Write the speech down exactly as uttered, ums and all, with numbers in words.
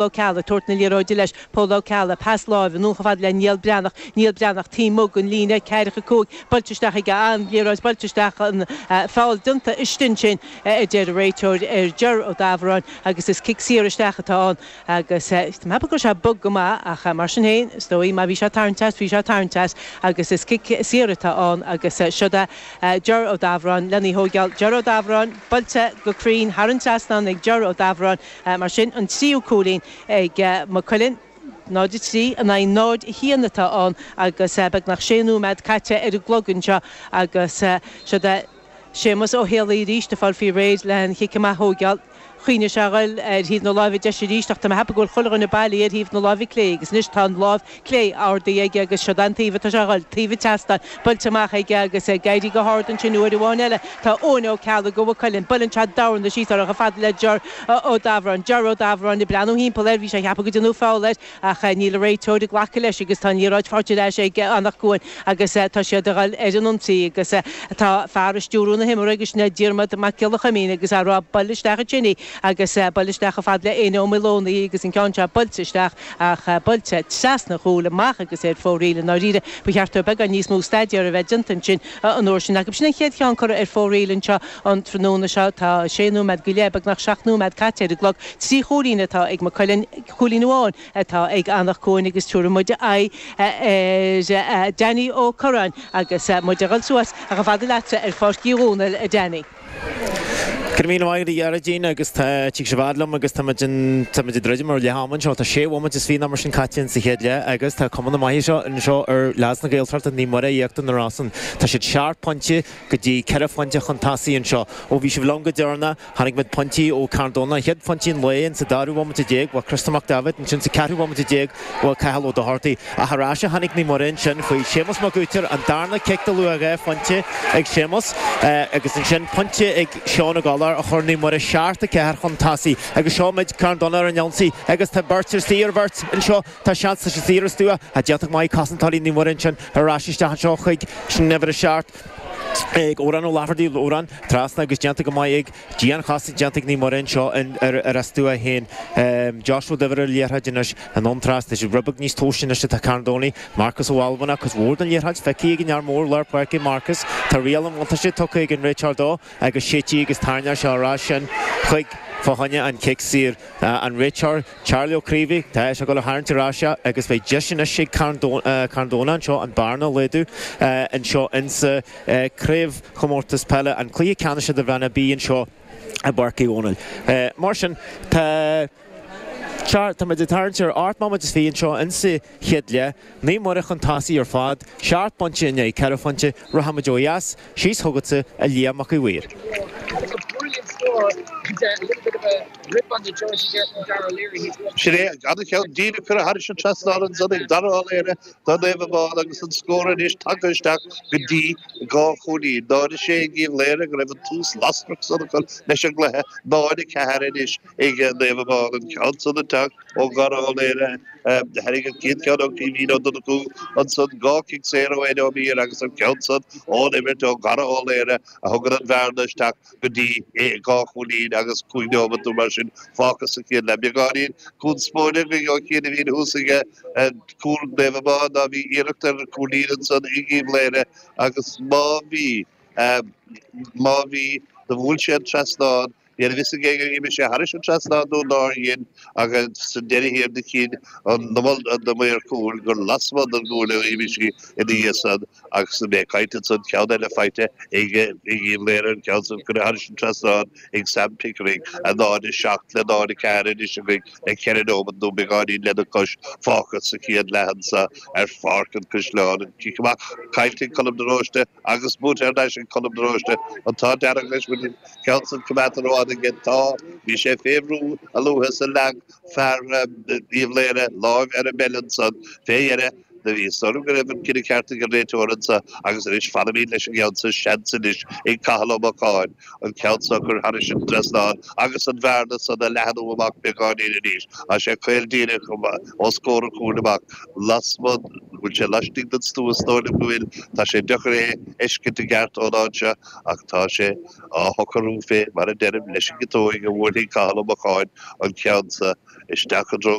Ó Ceallaigh tabhairt na liathróide leis, Pól Ó Ceallaigh, pas láimhe anonn chomh fada le Niall Breathnach, Niall Breathnach taobh amuigh den líne, ceathracha cúig, buailte isteach aige, an liathróid buailte isteach, an foul déanta istigh ansin, a deir an réiteoir ar Ger Ó Dubhráin agus is cic saor isteach atá ann agus tá mé ag ceapadh go raibh sé bog go maith ach mar sin féin, is dóigh, má bhí sé ag tarraingt as, bhí sé ag tarraingt as agus is cic saor atá ann agus siod é Ger Ó Dubhráin lena thógáil. Ger Ó Dubhráin buailte go cruinn thar an trasnán ag Ger Ó Dubhráin. Mar sin, an tríú cúilín ag Maigh Cuilinn, náid a trí in aghaidh náid a haon atá ann agus beagnach sé nóiméad caite ar an gclog anseo agus siod é Séamus Ó Héalaí arís ag fáil faoi réir le an chic amach a thógáil. Chuimhnigh sé a ghoil ar thaobh na láimhe deise arís ach tá mé ag ceapadh go bhfuil chuile dhuine bailithe ar thaobh na láimhe clé agus anois tá an lámh clé ardaithe aige agus siod é an taobh atá sé a ghoil, taobh an tseastáin, buailte amach aige agus ag éirí go hard ansin uair amháin eile tá Eoin Ó Ceallaigh ó Mhaigh Cuilinn. Buaileann sé dorn síos orthu chomh fada le Ger Ó Dubhráin. Ger Ó Dubhráin ag breathnú thimpeall air, bhí sé ag ceapadh go ndearnadh foul air ach níl an réiteoir ag glacadh leis agus tá an liathróid faighte ar ais ag Anach Cuain agus tá siad ag dul ar an ionsaí agus tá fear ag stiúrú na himeartha agus sin é Diarmuid Mac Giolla Chuimín agus á rá buail isteach ansin í agus buail isteach chomh fada le Éanna Ó Maoileonaí agus an ceann seo buailte isteach ach buailte trasna an chúil amach agus ar fóraoil i ndáiríre. Ba cheart dó beagán níos mó staidéir a bheith déanta ansin an uair sin acu. Sin an chéad cheann curtha ar fóraoil anseo an tráthnóna seo. Tá sé nóiméad go leith, beagnach seacht nóiméad caite ar an gclog. Trí chúilín atá ag Maigh Cuilinn, cúilín amháin atá ag Anach Cuain agus tabharfaidh muid aghaidh ar Danny Ó Curráin agus muid ag dul suas chomh fada leatsa ar Pháirc Uí Dhónaill, a Danny. Go raibh míle maith agat a Ghearóidín agus tá tig sibh fhad liom agus tá muid in tá muid ag druidim ar leath ama anseo. Tá sé bhomaite is fiche nó mar sin caite in sa chéad leath agus tá cuma na maithe seo anseo ar leaids na Gaeltachta Naomh Muire Íochtar na Rosann. Tá siad seacht bpointe go dtí ceithre phointe chun tosaigh anseo. Ó bhí sibh liom go deireanach, chonaic muid pointí ó Carn Domhnach, an chéad phointí an lae in sa dara bhomaite déag, bhuaigh Criostóir Mac Daibhéid, ansin sa ceathrú bhomaite déag bhuaigh Cathal Ó Dochartaigh. Ach ar ais a tháinig Naomh Muire ansin faoi Séamus Mac Uaitir, an darna cic de luach dhá phointe ag Séamus agus ansin pointe ag Seán Ó Gallchóir a chuir Naomh Muire seacht a ceathair chun tosaigh agus seo muid Carn Domhnach ar an ionsaí agus tá beirt ar saor bheirt anseo, tá seans tá sé saor ar stua ach déanta go maith cosantóirí Naomh Muire ansin ar ais isteach anseo chuig sin uimhir a seacht ag Odhrán Ó Laifeartaigh, Odhrán trasna agus déanta go maith ag dianchosaint déanta ag Naomh Muire anseo ar ar a stua féin. Joshua Duibhir ar an liathróid anois anonn trasna. Tá sé rud beag níos tomhaiste anois atá Carn Domhnach. Marcus Ó Almhana, cuid mhór den liathróid feicthe ag an fhear mór lár páirce Marcus. Tá riail an bhuntáiste tugtha ag an réiteoir dó agus séidte agus tarraingtear sé ar ais sin chuig fá choinne an cic saor. An réiteoir Charlie Ó Craoibhí, tá sé ag dul a tharraingt ar ais é agus beidh deis anois ag Carn Domhnach anseo an bearna a laghdú anseo insa Craobhchomórtas Peile, an cluiche ceannais idirmheánach B anseo i bPáirc Uí Dhónaill. Mar sin, tá tá muid ag tarraingt ar ocht mbomaite is fiche anseo insa chéad leath. Naomh Muire chun tosaigh ar fad, seacht bpointe in aghaidh ceithre phointe. Rachaidh muid ó dheas, síos chugatsa, a Liam Mac Uí Mhaoir. Sin é an-cheann díreach curtha thairis an trasnán ansan ag Dara Ó Laoire do Naomh Abán agus an scór anois tagtha isteach go dtí dhá chúilín. náid a sé ag Uíbh Laoghaire go raibh an tús lasrach san acu leis an gcluiche, náid a ceathair anois ag Naomh Abán. An ceann san ag teacht ó Dhara Ó Laoghaire. Tharraing an chéad cheann ó Caoimhín Ó Donnchú, ansan dhá chic saor ó Éanna Ó Meadhair agus an ceann san ón imirt ó Dhara Ó Laoghaire a thugann an bhearna isteach go dtí dhá chúilín agus cúig neomat nó mar sin fágtha sa chéad leath. Beagáinín conspóide go an chéad a bhíonn thuas aige cúl Naomh Abán ná bhí iarracht ar chúilín ansan ag Uíbh Laoghaire agus má bhí, má bhí, do bhuail sé an trasnán. Níl a fhios ag éinne ar imigh sé thairis an trasnán nó nár dhein ach sa deireadh thiar do chinn an maor cúil gur lasmuigh den gcúl a imigh sí ina dhiaidh san agus mé ag caint ansan ceann eile faighte ag Uíbh Laoghaire an ceann san curtha thairis an trasnán ag Sam Pickering a náid a seacht le náid a ceathair anois againn le ceithre nóimeat nó beagáinín lena chois fágtha sa chéad leath anso ar Pháirc an Chaisleáin. An cic amach caillte ag Colm de Róiste agus buaite thar n-ais ag Colm de Róiste. An t-ádh dearg leis go bhfuil an ceann san coimeádta rófhada aige. Tá. Bhí sé fé bhrú a luaithe is a leag fear Uíbh Laoghaire láimh ar an mpeil ansan fé dheireadh. Do bhí fhios agam go raibh an cinneadh ceart ag an réiteoir anso agus anois fanaimid leis an gceann so. Seans anois ag Cathal Ó Mocháin an ceann so a chur thairis an dtrasnán agus an bhearna san a leathnú amach beagáinín arís. Tá sé caol díreach os comhair an chúil amach lasmuigh, bhfuil sé laistigh den stua is dóigh liom go bhfuil. Tá sé deacair é a fheiscint i gceart ón áit seo ach tá sé á shocrú fé mar a deirim leis an gciotóig a bhuailfidh Cathal Ó Mocháin an ceann so. Isteach an